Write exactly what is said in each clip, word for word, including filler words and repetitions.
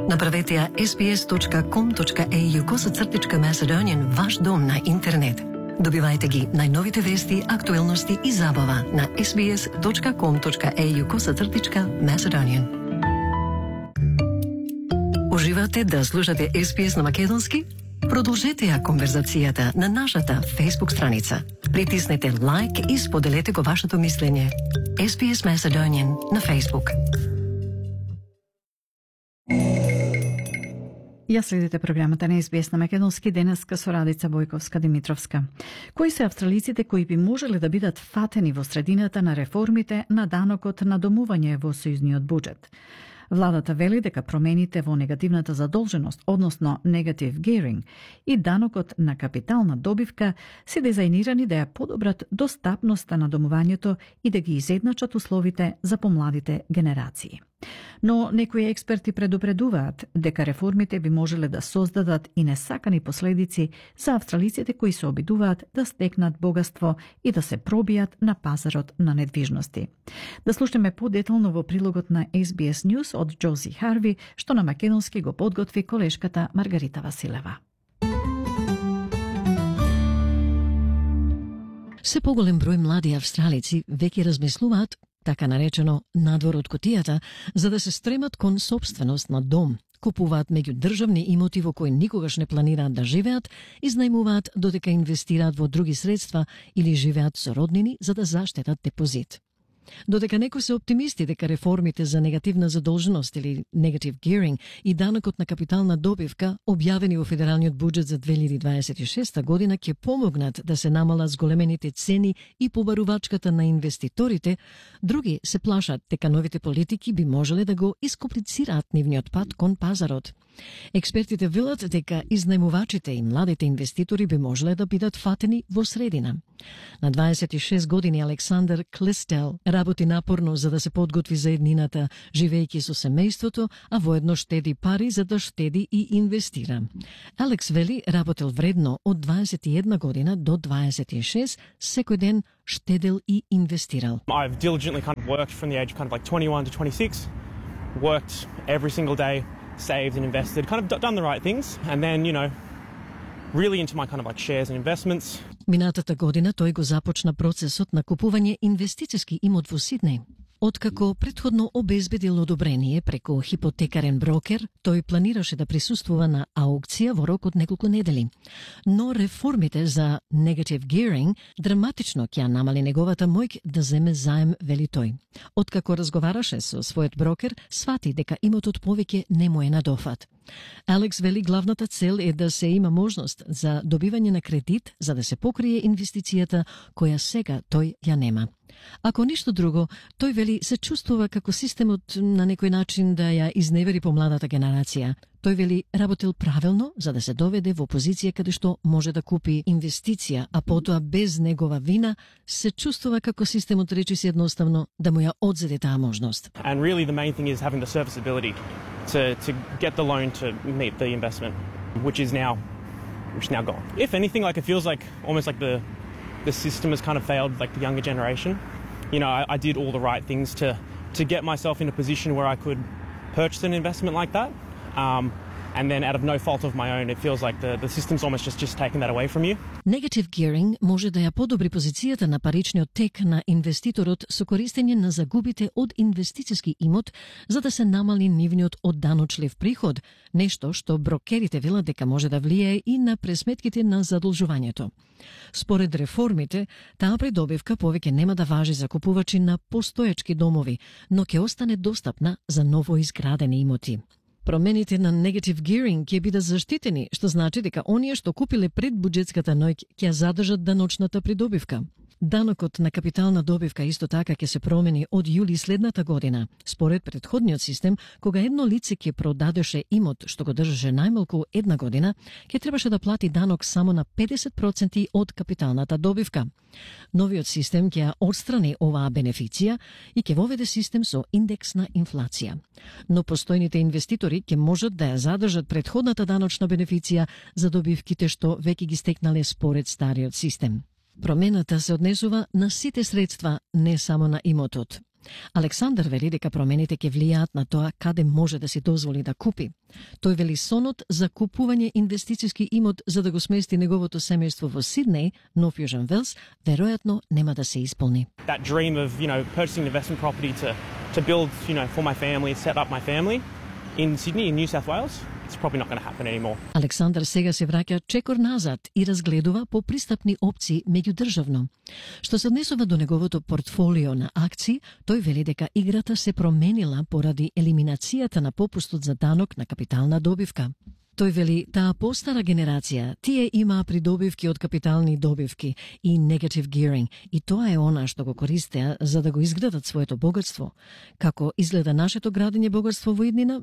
Направете ја sbs.com.au косацртичка Macedonian ваш дом на интернет. Добивајте ги најновите вести, актуелности и забава на sbs.com.au косацртичка Macedonian. Уживате да слушате Ес Би Ес на македонски? Продолжете ја конверзацијата на нашата Facebook страница. Притиснете лайк и споделете го вашето мислење. Ес Би Ес Macedonian на Facebook. Ја следите програмата на Ес Би Ес на македонски денеска со Радица Бојковска-Димитровска. Кои се австралиците кои би можеле да бидат фатени во средината на реформите на данокот на домување во сојузниот буџет? Владата вели дека промените во негативната задолженост, односно негатив гејринг, и данокот на капитална добивка се дизајнирани да ја подобрат достапноста на домувањето и да ги изедначат условите за помладите генерации. Но некои експерти предупредуваат дека реформите би можеле да создадат и несакани последици за австралиците кои се обидуваат да стекнат богатство и да се пробијат на пазарот на недвижности. Да слушаме подетално во прилогот на Ес Би Ес News од Джози Харви, што на македонски го подготви колешката Маргарита Василева. Се поголем број млади австралици веќе размислуваат, така наречено, надвор од кутијата, за да се стремат кон собственост на дом, купуваат меѓу државни имоти во кои никогаш не планираат да живеат, изнајмуваат додека инвестираат во други средства или живеат со роднини за да заштедат депозит. Додека некои се оптимисти дека реформите за негативна задолженост или negative gearing и данокот на капитална добивка, објавени во федералниот буџет за две илјади дваесет и шеста година, ќе помогнат да се намалат зголемените цени и побарувачката на инвеститорите, други се плашат дека новите политики би можеле да го искомплицираат нивниот пат кон пазарот. Експертите велат дека изнајмувачите и младите инвеститори би можеле да бидат фатени во средина. На дваесет и шест години Александър Клистел работи напорно за да се подготви за еднината, живејќи со семејството, а воедно штеди пари за да штеди и инвестира. Алекс вели работел вредно од дваесет и една година до дваесет и шест, секој ден штедел и инвестирал. I've diligently kind of worked from the age of kind of like twenty-one to twenty-six, worked every single day, saved and invested, kind of done the right things, and then, you know, really into my kind of like shares and investments. Минатата година тој го започна процесот на купување инвестициски имот во Сиднеј. Откако претходно обезбедил одобрение преку хипотекарен брокер, тој планираше да присуствува на аукција во рок од неколку недели. Но реформите за negative gearing драматично ќе намали неговата моќ да земе заем, вели тој. Откако разговараше со својот брокер, свати дека имотот повеќе не му е на дофат. Алекс вели главната цел е да се има можност за добивање на кредит за да се покрие инвестицијата која сега тој ја нема. Ако ништо друго, тој вели се чувствува како системот на некој начин да ја изневери помладата генерација. Тој вели работел правилно за да се доведе во позиција каде што може да купи инвестиција, а потоа без негова вина се чувствува како системот речиси едноставно да му ја одзеде таа можност. And really the main thing is having the serviceability to to get the loan to meet the investment, which is now which is now gone. If anything, like it feels like almost like the the system has kind of failed like the younger generation. You know, I, I did all the right things to to get myself in a position where I could purchase an investment like that. Um, and then out of no fault of my own, it feels like the, the system's almost just, just taken that away from you. Negative gearing може да ја подобри позицијата на паричниот тек на инвеститорот со користење на загубите од инвестициски имот за да се намали нивниот одданочлив приход, нешто што брокерите велат дека може да влијае и на пресметките на задолжувањето. Според реформите, таа придобивка повеќе нема да важи за купувачи на постоечки домови, но ќе остане достапна за ново изградени имоти. Промените на negative gearing ќе бидат заштитени, што значи дека оние што купиле пред буџетската ноќ ќе задржат даночната придобивка. Данокот на капитална добивка исто така ќе се промени од јули следната година. Според претходниот систем, кога едно лице ќе продадеше имот што го држеше најмалку една година, ќе требаше да плати данок само на педесет проценти од капиталната добивка. Новиот систем ќе ја отстрани оваа бенефиција и ќе воведе систем со индекс на инфлација. Но постојните инвеститори ќе можат да ја задржат претходната даночна бенефиција за добивките што веќе ги стекнале според стариот систем. Промената се однесува на сите средства, не само на имотот. Александар вели дека промените ќе влијаат на тоа каде може да си дозволи да купи. Тој вели сонот за купување инвестициски имот за да го смести неговото семејство во Сиднеј, Нов Јужен Велс, веројатно нема да се исполни. That dream of, you know, purchasing an investment property to to build, you know, for my family, set up my family in Sydney, in New South Wales, it's probably not going to happen anymore. Александар сега се враќа чекор назад и разгледува по пристапни опции меѓудржавно. Што се однесува до неговото портфолио на акции, тој вели дека играта се променила поради елиминацијата на попустот за данок на капитална добивка. Тој вели, таа постара генерација, тие имаа придобивки од капитални добивки и negative gearing, и тоа е она што го користеа за да го изградат своето богатство. Како изгледа нашето градење богатство во иднина?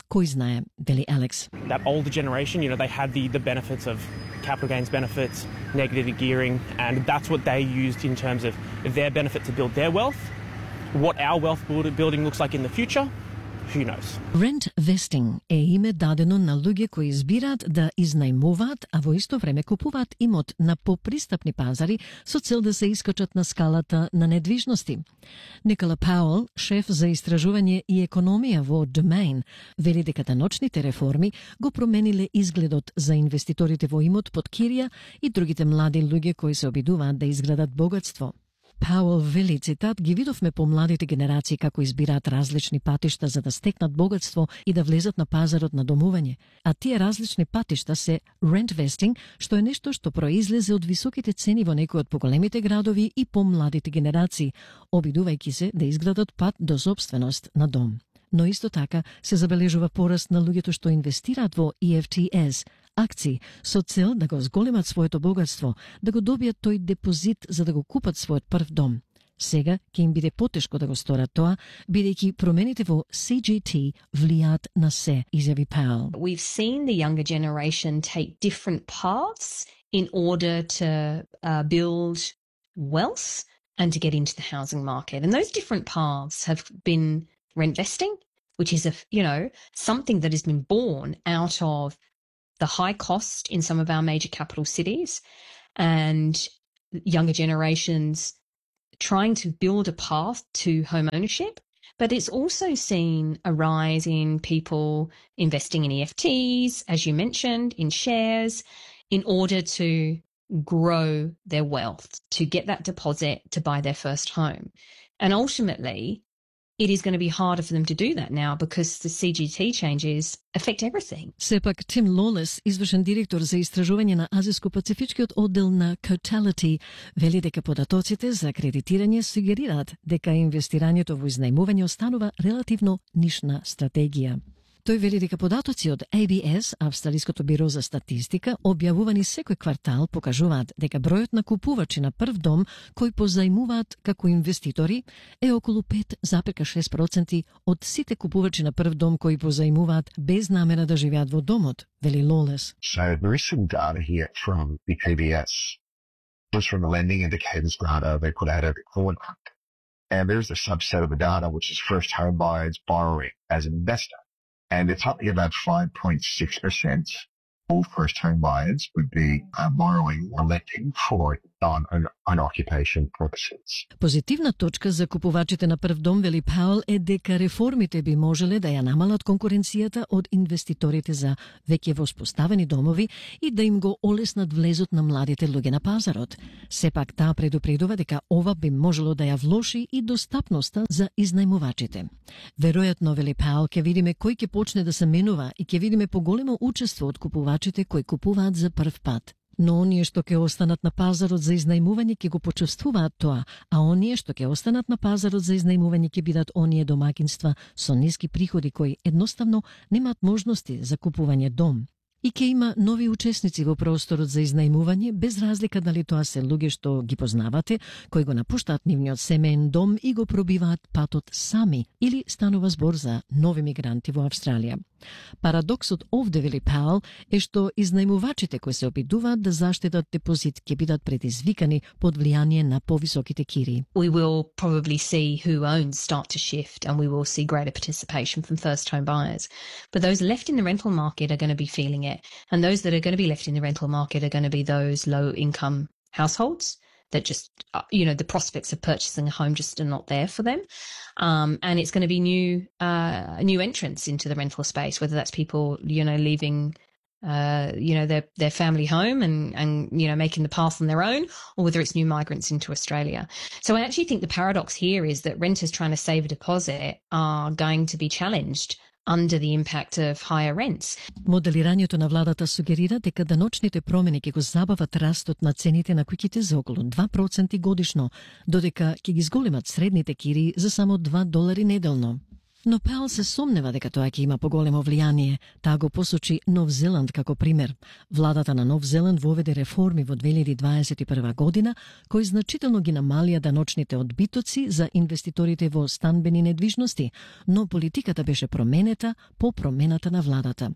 Кој знае, вели Алекс. That older generation, you know, they had the, the benefits of capital gains benefits, negative gearing, and that's what they used in terms of their benefit to build their wealth. What our wealth building looks like in the future, who knows? Rent vesting е име дадено на луѓе кои избираат да изнајмуваат, а во исто време купуваат имот на попристапни пазари со цел да се искачат на скалата на недвижности. Никола Пауел, шеф за истражување и економија во Domain, вели дека таночните реформи го промениле изгледот за инвеститорите во имот под кирија и другите млади луѓе кои се обидуваат да изградат богатство. Пауел вели, цитат, ги видовме по младите генерации како избираат различни патишта за да стекнат богатство и да влезат на пазарот на домување. А тие различни патишта се rent vesting, што е нешто што произлезе од високите цени во некои од поголемите градови и по младите генерации, обидувајќи се да изградат пат до собственост на дом. Но исто така се забележува пораст на луѓето што инвестираат во И Еф Ти Ес, акции, со цел да го зголемат своето богатство, да го добијат тој депозит за да го купат својот прв дом. Сега ќе им биде потешко да го сторат тоа, бидејќи промените во Си Джи Ти влијаат на се, изјави Пауел. We've seen the younger generation take different paths in order to uh, build wealth and to get into the housing market. And those different paths have been rent vesting, which is a, you know, something that has been born out of the high cost in some of our major capital cities and younger generations trying to build a path to home ownership. But it's also seen a rise in people investing in E F Ts, as you mentioned, in shares, in order to grow their wealth, to get that deposit to buy their first home. And ultimately, it is going to be harder for them to do that now because the Си Джи Ти changes affect everything. Сепак, Тим Лолес, извршен директор за истражување на Азиско-Пацифичкиот оддел на Cotality, вели дека податоците за кредитирање сугерираат дека инвестирањето во изнајмување останува релативно нишна стратегија. Тој вели дека податоци од А Б С, Австралиското биро за статистика, објавувани секој квартал, покажуваат дека бројот на купувачи на прв дом кои позајмуваат како инвеститори е околу пет запирка шест проценти од сите купувачи на прв дом кои позајмуваат без намера да живеат во домот, вели Лолес. So there is some data here from the A B S. Just from the lending indicators data they put out every quarter. And there's a subset of the data which is first home buyers borrowing as an investor. And it's only about five point six percent all first home buyers would be uh, borrowing or lending for non-occupation purposes. Позитивна точка за купувачите на прв дом, вели Пауел, е дека реформите би можеле да ја намалат конкуренцијата од инвеститорите за веќе воспоставени домови и да им го олеснат влезот на младите луѓе на пазарот. Сепак таа предупредува дека ова би можело да ја влоши и достапноста за изнајмувачите. Веројатно, вели Пауел, ќе видиме кој ќе почне да се менува и ќе видиме поголемо учество од купувачите кои купуваат за прв пат. Но оние што ќе останат на пазарот за изнајмување ќе го почувствуваат тоа, а оние што ќе останат на пазарот за изнајмување ќе бидат оние домаќинства со ниски приходи кои едноставно немаат можности за купување дом. И ќе има нови учесници во просторот за изнајмување, без разлика дали тоа се луѓе што ги познавате, кои го напуштаат нивниот семеен дом и го пробиваат патот сами, или станува збор за нови мигранти во Австралија. Парадоксот овде, вели Пауел, е што изнајмувачите кои се обидуваат да заштедат депозит ќе бидат предизвикани под влијание на повисоките кири. We will probably see who owns start to shift and we will see greater participation from first home buyers. But those left in the rental market are going to be feeling it. And those that are going to be left in the rental market are going to be those low income households that just, uh, you know, the prospects of purchasing a home just are not there for them. Um, and it's going to be new, uh, new entrants into the rental space, whether that's people, you know, leaving, uh, you know, their, their family home and, and, you know, making the path on their own, or whether it's new migrants into Australia. So I actually think the paradox here is that renters trying to save a deposit are going to be challenged under the impact of higher rents. Моделирањето на владата сугерира дека даночните промени ќе го забават растот на цените на куќите за околу два проценти годишно, додека ќе ги зголемат средните кири за само два долари неделно. Но Паул се сомнева дека тоа ќе има поголемо влијание. Таа го посочи Нов Зеланд како пример. Владата на Нов Зеланд воведе реформи во две илјади дваесет и прва година, кои значително ги намалија даночните одбитоци за инвеститорите во станбени недвижности, но политиката беше променета по промената на владата.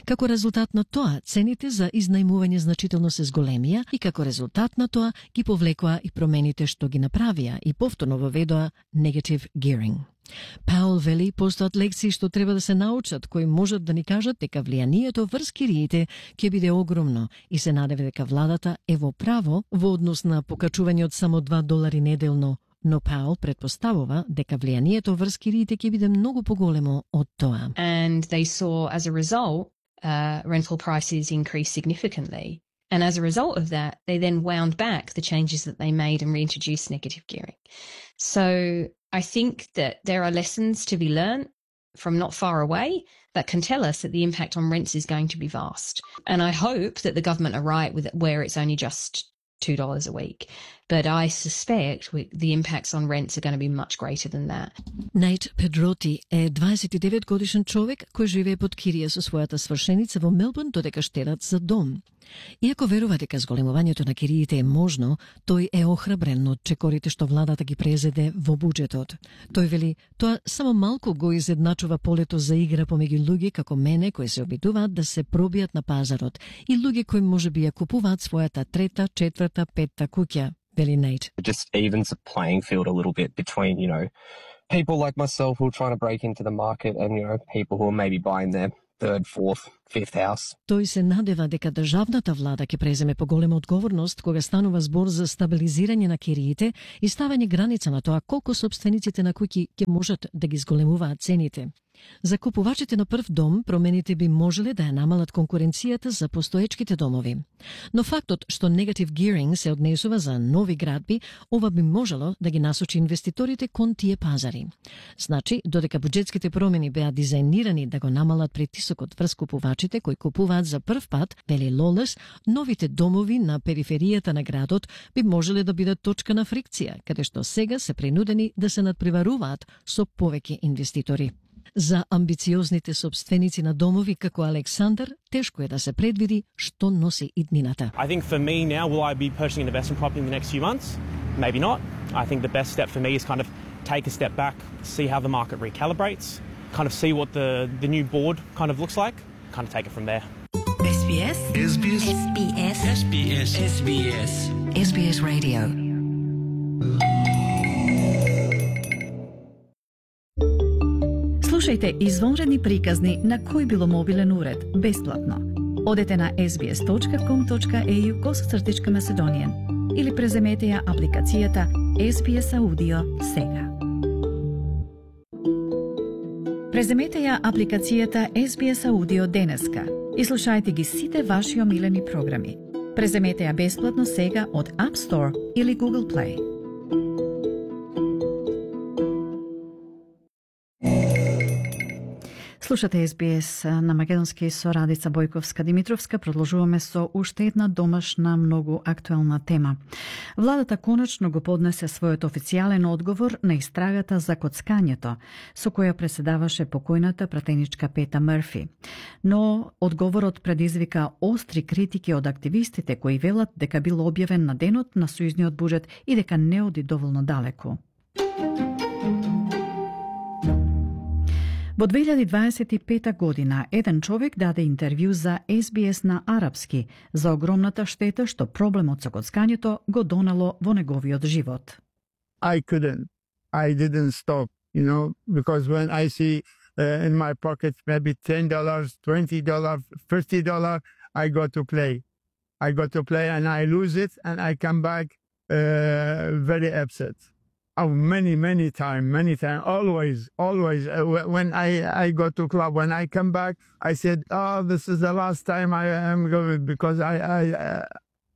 Како резултат на тоа, цените за изнајмување значително се зголемија и како резултат на тоа ги повлекоа и промените што ги направија и повторно воведоа negative gearing. Паул вели постојат лекции што треба да се научат, кои можат да ни кажат дека влијанието врз кириите ќе биде огромно и се надева дека владата е во право во однос на покачување од само два долари неделно, но Паул предпоставува дека влијанието врз кириите ќе биде многу поголемо од тоа. And they saw as a result uh, rental prices increase significantly. And as a result of that, they then wound back the changes that they made and reintroduced negative gearing. So I think that there are lessons to be learned from not far away that can tell us that the impact on rents is going to be vast. And I hope that the government are right with it, where it's only just two dollars a week. But I suspect we, the impacts on rents are going to be much greater than that. Најт Педроти е дваесет и девет годишен човек кој живее под кирија со својата свршеница во Мелбурн додека штедат за дом. Иако верува дека зголемувањето на кириите е можно, тој е охрабрен од чекорите што владата ги презеде во буџетот. Тој вели, тоа само малку го изедначува полето за игра помеѓу луѓе како мене кои се обидуваат да се пробијат на пазарот и луѓе кои можеби ја купуваат својата трета, четврта, петта куќа. Вели Нейт. It just evens the playing field a little bit between, you know, people like myself who are trying to break into the market and, you know, people who are maybe buying their third, fourth, fifth house. Тој се надева дека државната влада ќе преземе поголема одговорност кога станува збор за стабилизирање на кириите и ставање граница на тоа колку собствениците на куќи ќе можат да ги зголемуваат цените. За купувачите на прв дом, промените би можеле да ја намалат конкуренцијата за постоечките домови. Но фактот што негатив gearing се однесува за нови градби, ова би можело да ги насочи инвеститорите кон тие пазари. Значи, додека буџетските промени беа дизајнирани да го намалат притисокот врз купувачите кои купуваат за прв пат, вели Лолес, новите домови на периферијата на градот би можеле да бидат точка на фрикција, каде што сега се принудени да се надпреваруваат со повеќе инвеститори. За амбициозните собственици на домови како Александар, тешко е да се предвиди што носи иднината. I think for me now, will I be purchasing an investment property in the next few months? Maybe not. I think the best step for me is kind of take a step back, see how the market recalibrates, kind of see what the, the new board kind of looks like, kind of take it from there. S B S S B S S B S S B S S B S S B S Radio. Слушајте извонредни приказни на кој било мобилен уред, бесплатно. Одете на ес би ес точка ком точка ей ю косацртичка Macedonian или преземете ја апликацијата Ес Би Ес Audio сега. Преземете ја апликацијата Ес Би Ес Audio денеска и слушајте ги сите ваши омилени програми. Преземете ја бесплатно сега од App Store или Google Play. Слушате Ес Би Ес на македонски со Радица Бојковска-Димитровска. Продолжуваме со уште една домашна многу актуелна тема. Владата конечно го поднесе својот официјален одговор на истрагата за коцкањето, со која преседаваше покојната пратеничка Пета Мрфи. Но одговорот предизвика остри критики од активистите кои велат дека бил објавен на денот на сојузниот буџет и дека не оди доволно далеку. Во две илјади дваесет и пета година, еден човек даде интервју за Ес Би Ес на арапски за огромната штета што проблемот со коцкањето го донело во неговиот живот. I couldn't. I didn't stop, you know, because when I see uh, in my pocket maybe ten dollars, twenty dollars, fifty dollars, I go to play. I go to play and I lose it and I come back uh, very upset. Oh, many, many time, many time, always, always. Uh, when I, I go to club, when I come back, I said, oh, this is the last time I am going because I, I, uh,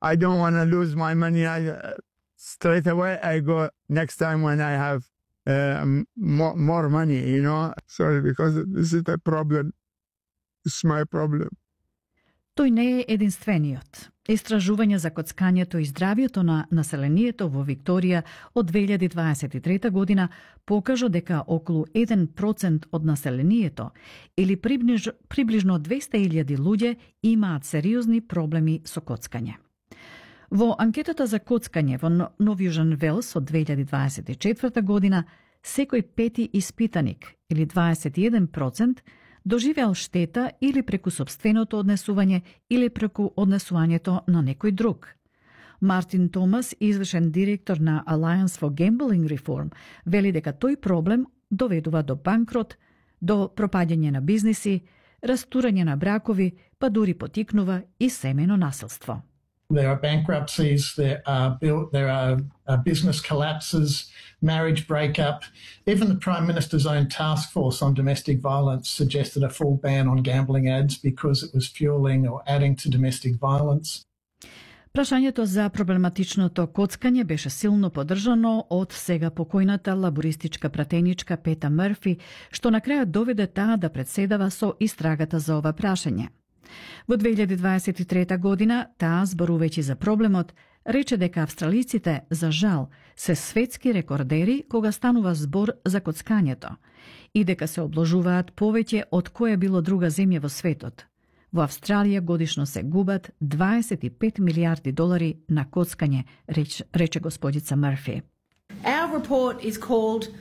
I don't want to lose my money. I, uh, straight away, I go next time when I have uh, more, more money, you know. Sorry, because this is the problem. It's my problem. Тој не е единствениот. Истражување за коцкањето и здравјето на населението во Викторија од две илјади дваесет и трета година покажа дека околу еден процент од населението или приближ, приближно двеста илјади луѓе имаат сериозни проблеми со коцкање. Во анкетата за коцкање во Нов Јужен Велс од две илјади дваесет и четврта година, секој пети испитаник или дваесет и еден процент доживеал штета или преку сопственото однесување или преку однесувањето на некој друг. Мартин Томас, извршен директор на Alliance for Gambling Reform, вели дека тој проблем доведува до банкрот, до пропаѓање на бизниси, растурање на бракови, па дури потикнува и семејно насилство. There are bankruptcies, there are, there are uh, business collapses, marriage breakup. Even the Prime Minister's own task force on domestic violence suggested a full ban on gambling ads because it was fueling or adding to domestic violence. Прашањето за проблематичното коцкање беше силно поддржано од сега покојната лабористичка пратеничка Пета Мърфи, што на крајот доведе таа да председава со истрагата за ова прашање. Во две илјади дваесет и трета година, таа, зборувајќи за проблемот, рече дека австралиците, за жал, се светски рекордери кога станува збор за коцкањето и дека се обложуваат повеќе од која било друга земја во светот. Во Австралија годишно се губат дваесет и пет милијарди долари на коцкање, реч, рече господица Мърфи. Our report is called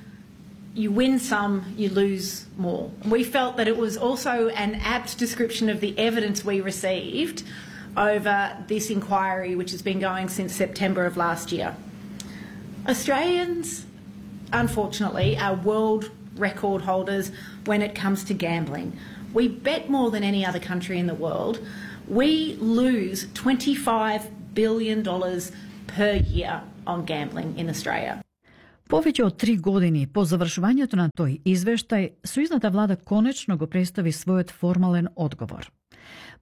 You win some, you lose more. We felt that it was also an apt description of the evidence we received over this inquiry, which has been going since September of last year. Australians, unfortunately, are world record holders when it comes to gambling. We bet more than any other country in the world. We lose twenty-five billion dollars per year on gambling in Australia. Повеќе од три години по завршувањето на тој извештај, сојузната влада конечно го представи својот формален одговор.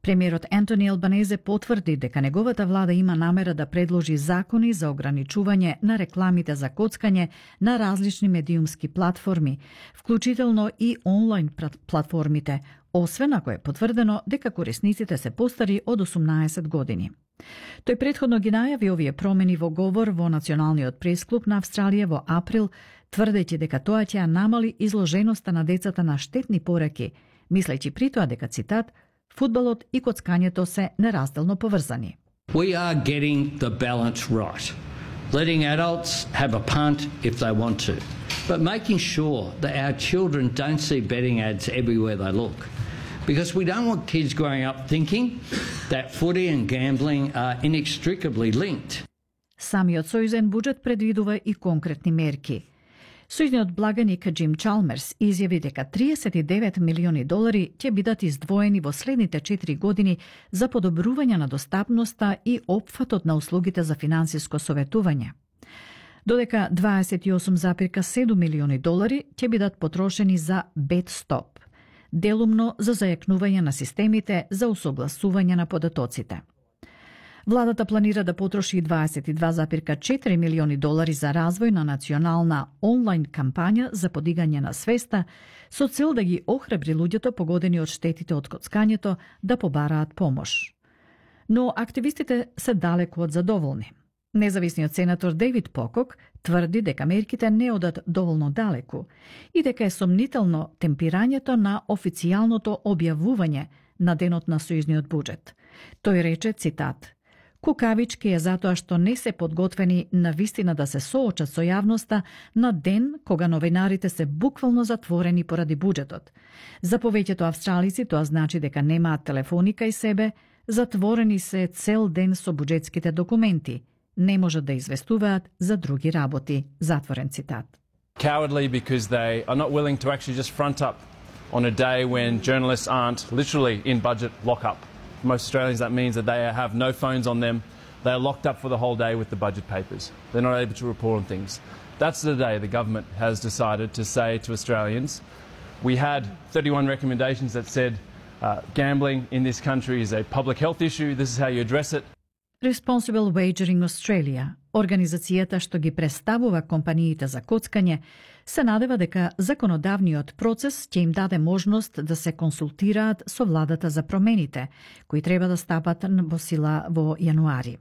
Премиерот Ентони Албанезе потврди дека неговата влада има намера да предложи закони за ограничување на рекламите за коцкање на различни медиумски платформи, вклучително и онлайн платформите, освен ако е потврдено дека корисниците се постари од осумнаесет години. Тој претходно ги најави овие промени во говор во Националниот пресклуб на Австралија во април, тврдејќи дека тоа ќе намали изложеноста на децата на штетни пораки, мислејќи при тоа дека, цитат, фудбалот и коцкањето се неразделно поврзани. We are getting the balance right. Letting adults have a punt if they want to, but making sure that our children don't see betting ads everywhere they look. Because we don't want kids growing up thinking that footy and gambling are inextricably linked. Самиот сојузен буџет предвидува и конкретни мерки. Сојузниот благаник Джим Чалмерс изјави дека триесет и девет милиони долари ќе бидат издвоени во следните четири години за подобрување на достапноста и опфатот на услугите за финансиско советување. Додека дваесет и осум зарез и седум милиони долари ќе бидат потрошени за BetStop, делумно за зајакнување на системите за усогласување на податоците. Владата планира да потроши дваесет и два зарез и четири милиони долари за развој на национална онлайн кампања за подигање на свеста со цел да ги охрабри луѓето погодени од штетите од коцкањето да побараат помош. Но активистите се далеку од задоволни. Независниот сенатор Дейвид Покок тврди дека мерките не одат доволно далеку и дека е сомнително темпирањето на официјалното објавување на денот на сојузниот буџет. Тој рече, цитат, кукавички е затоа што не се подготвени на вистина да се соочат со јавноста на ден кога новинарите се буквално затворени поради буџетот. За повеќето австралици тоа значи дека немаат телефони кај себе, затворени се цел ден со буџетските документи, не можат да известуваат за други работи, затворен цитат. Cowardly because they are not willing to actually just front up on a day when journalists aren't literally in budget lockup. For most Australians that means that they have no phones on them, they are locked up for the whole day with the budget papers. They're not able to report on things. That's the day the government has decided to say to Australians, we had thirty-one recommendations that said uh, gambling in this country is a public health issue, this is how you address it. Responsible Wagering Australia, организацијата што ги представува компаниите за коцкање, се надева дека законодавниот процес ќе им даде можност да се консултираат со владата за промените, кои треба да стапат во сила во јануари.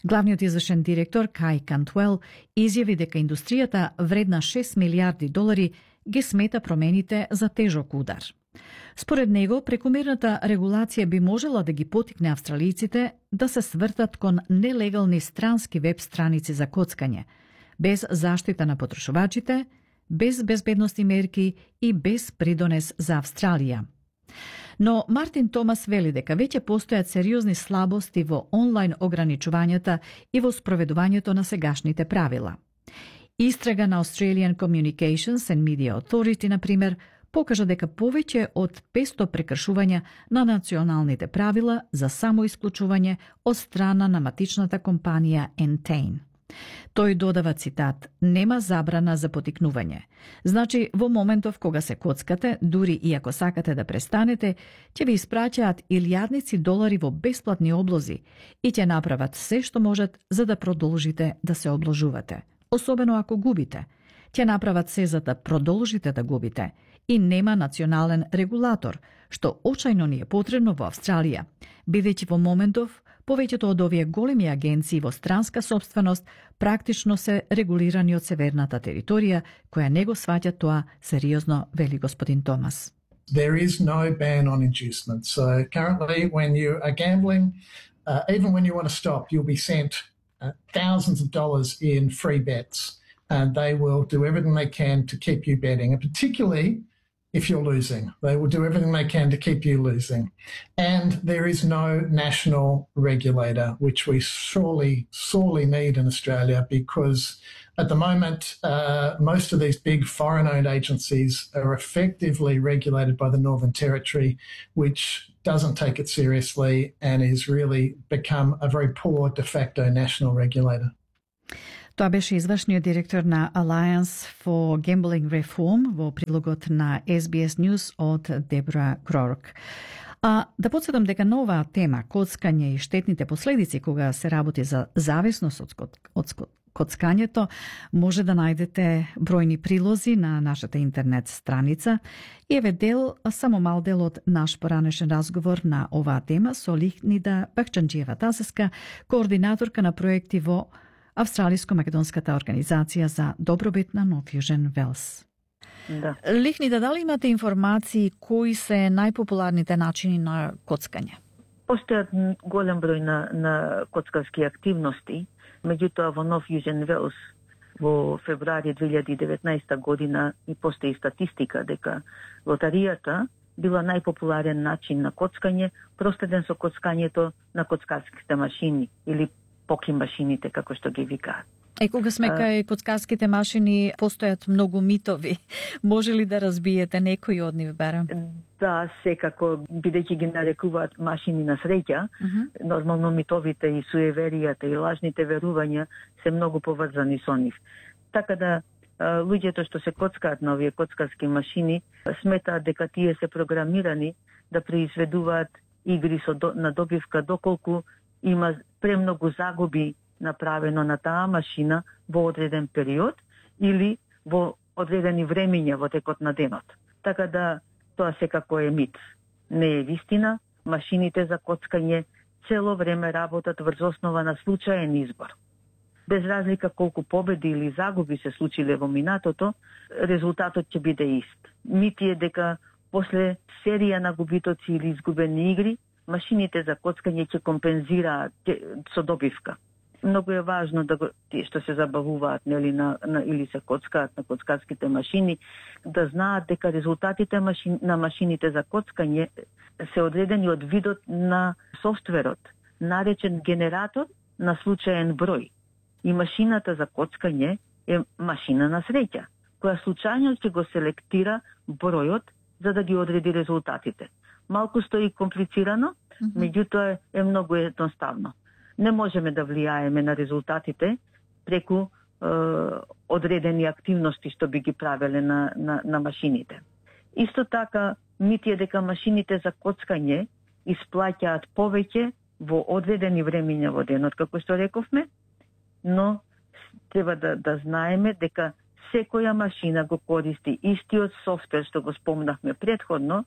Главниот извршен директор Кај Кантуел изјави дека индустријата вредна шест милиарди долари ги смета промените за тежок удар. Според него, прекумерната регулација би можела да ги потикне австралиците да се свртат кон нелегални странски веб страници за коцкање, без заштита на потрошувачите, без безбедностни мерки и без придонес за Австралија. Но Мартин Томас вели дека веќе постојат сериозни слабости во онлайн ограничувањата и во спроведувањето на сегашните правила. Истрага на Australian Communications and Media Authority, например, покажа дека повеќе од петсто прекршувања на националните правила за самоисклучување од страна на матичната компанија Entain. Тој додава цитат: "Нема забрана за потикнување. Значи, во моментов кога се коцкате, дури и ако сакате да престанете, ќе ви испраќаат илјадници долари во бесплатни облози и ќе направат се што можат за да продолжите да се обложувате. Особено ако губите. Ќе направат се за да продолжите да губите. И нема национален регулатор, што очајно ни е потребно во Австралија, бидејќи во моментов повеќето од овие големи агенции во странска собственост практично се регулирани од северната територија, која не го сваќа тоа сериозно, вели господин Томас. There is no ban on inducement. So currently when you are gambling, uh, even when you want to stop, you'll be sent uh, thousands of dollars in free bets, and they will do everything they can to keep you betting, and particularly if you're losing. They will do everything they can to keep you losing. And there is no national regulator, which we surely, sorely need in Australia, because at the moment, uh, most of these big foreign-owned agencies are effectively regulated by the Northern Territory, which doesn't take it seriously and is really become a very poor de facto national regulator. Тоа беше извршниот директор на Alliance for Gambling Reform во прилогот на Ес Би Ес News од Дебра Крорк. А да подсетам дека на оваа тема, коцкање и штетните последици кога се работи за зависност од, од коцкањето, може да најдете бројни прилози на нашата интернет страница. И еве дел, само мал дел од наш поранешен разговор на оваа тема со Лихнида Бахчанџиева-Тасеска, координаторка на проекти во Австралиско-македонската организација за добробит на No Fusion Wales. Да. Лихнида, дали имате информации кои се најпопуларните начини на коцкање? Постојат голем број на, на коцкарски активности, меѓутоа во No Fusion Wales во февруари две илјади и деветнаесета година и постои статистика дека лотаријата била најпопуларен начин на коцкање, проследен со коцкањето на коцкарските машини или поки машините, како што ги викаат. Е, кога сме кај коцкарските машини, постојат многу митови. Може ли да разбиете некои од нив, барем? Да, секако, бидејќи ги нарекуваат машини на среќа, uh-huh. Нормално митовите и суеверијата и лажните верувања се многу поврзани со нив. Така да, луѓето што се коцкаат на овие коцкарски машини, сметаат дека тие се програмирани да произведуваат игри со до, на добивка, доколку има премногу загуби направено на таа машина во одреден период или во одредени времиња во текот на денот. Така да тоа секако е мит. Не е вистина, машините за коцкање цело време работат врз основа на случаен избор. Без разлика колку победи или загуби се случиле во минатото, резултатот ќе биде ист. Мит е дека после серија на губитоци или изгубени игри, машините за коцкање ќе компензираат со добивка. Многу е важно да го, тие што се забавуваат нели на, на или се коцкаат на коцкарските машини, да знаат дека резултатите машин, на машините за коцкање се одредени од видот на софтверот, наречен генератор на случаен број. И машината за коцкање е машина на среќа, која случајно ќе го селектира бројот за да ги одреди резултатите. Малку стои комплицирано, mm-hmm. меѓутоа е многу едноставно. Не можеме да влијаеме на резултатите преку е, одредени активности што би ги правеле на, на, на машините. Исто така, мит е дека машините за коцкање исплаќаат повеќе во одредени времиња во денот, како што рековме, но треба да, да знаеме дека секоја машина го користи истиот софтвер што го спомнавме предходно,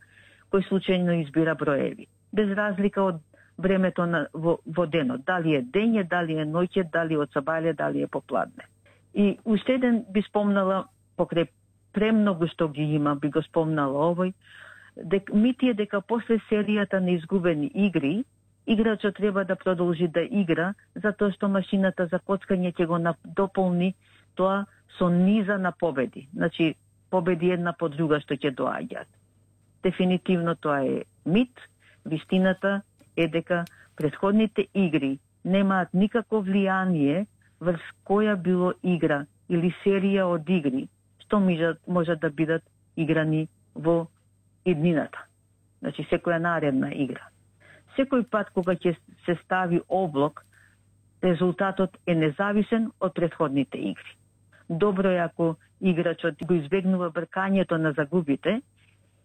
кој случајно избира броеви. Без разлика од времето на, во, во денот, дали е дење, дали е ноќе, дали од сабајле, дали е попладне. И уште еден би спомнала, покрај премногу што ги има, би го спомнала овој, дек, мит е дека после серијата на изгубени игри, играчот треба да продолжи да игра, затоа што машината за коцкање ќе го дополни тоа со низа на победи. Значи, победи една по друга што ќе доаѓаат. Дефинитивно тоа е мит. Вистината е дека претходните игри немаат никакво влијание врз која било игра или серија од игри што можат да бидат играни во иднината. Значи, секоја наредна игра. Секој пат кога ќе се стави облок, резултатот е независен од претходните игри. Добро е ако играчот го избегнува бркањето на загубите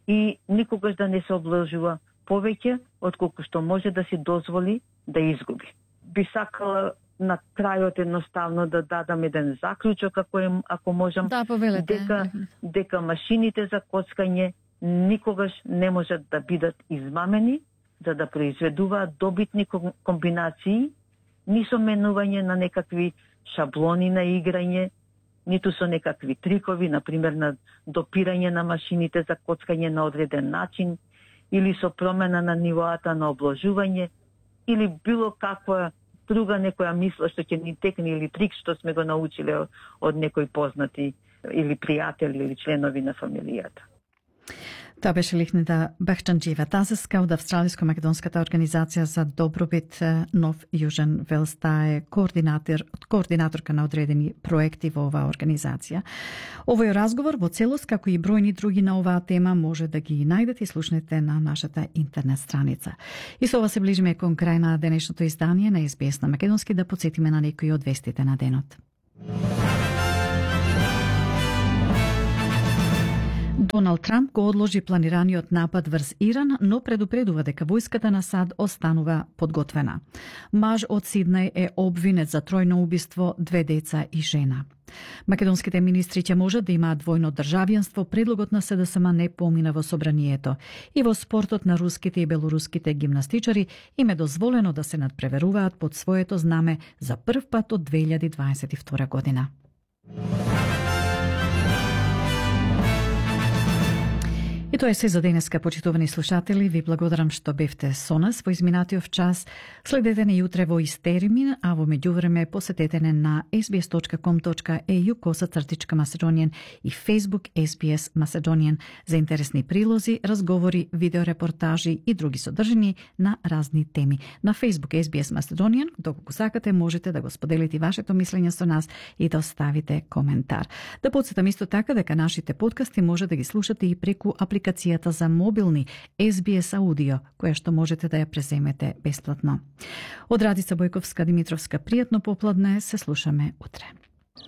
и никогаш да не се обложува повеќе отколку што може да си дозволи да изгуби. Би сакала на крајот едноставно да дадам еден заклучок, ако, е, ако можам, да, дека, дека машините за коцкање никогаш не можат да бидат измамени, за да произведуваат добитни комбинации, ни со менување на некакви шаблони на играње, ниту со некакви трикови, например на допирање на машините за коцкање на одреден начин, или со промена на нивоата на обложување, или било каква друга некоја мисла што ќе ни текне, или трик што сме го научиле од некои познати или пријатели или членови на фамилијата. Тоа беше Лихнида Бахчанџиева Тазеска од Австралиско-македонската организација за добробит Нов Јужен Велс. Таа е координатор, координаторка на одредени проекти во оваа организација. Овој разговор во целост, како и бројни други на оваа тема, може да ги најдете и слушнете на нашата интернет страница. И со ова се ближиме кон крај на денешното издание на Ес Би Ес на Македонски, да потсетиме на некои од вестите на денот. Доналд Трамп го одложи планираниот напад врз Иран, но предупредува дека војската на САД останува подготвена. Маж од Сиднеј е обвинет за тројно убиство, две деца и жена. Македонските министри ќе можат да имаат двојно државјанство, предлогот на Се Де Ес Ем не помина во собранието. И во спортот на руските и белоруските гимнастичари им е дозволено да се надпреверуваат под своето знаме за прв пат од две илјади дваесет и втора година. И тоа е се за денеска, почитувани слушатели. Ви благодарам што бевте со нас во изминатиот час. Следете не јутре во ист термин, а во меѓувреме посетете не на ес би ес точка ком точка е ју косацртичка Macedonian и Facebook Ес Би Ес Macedonian за интересни прилози, разговори, видеорепортажи и други содржини на разни теми. На Facebook Ес Би Ес Macedonian, доколку сакате, можете да го споделите вашето мислење со нас и да оставите коментар. Да подсетам исто така дека нашите подкасти може да ги слушате и преку апликацијата апликацијата за мобилни Ес Би Ес Аудио, која што можете да ја преземете бесплатно. Од Радица Бојковска Димитровска, пријатно попладне, се слушаме утре.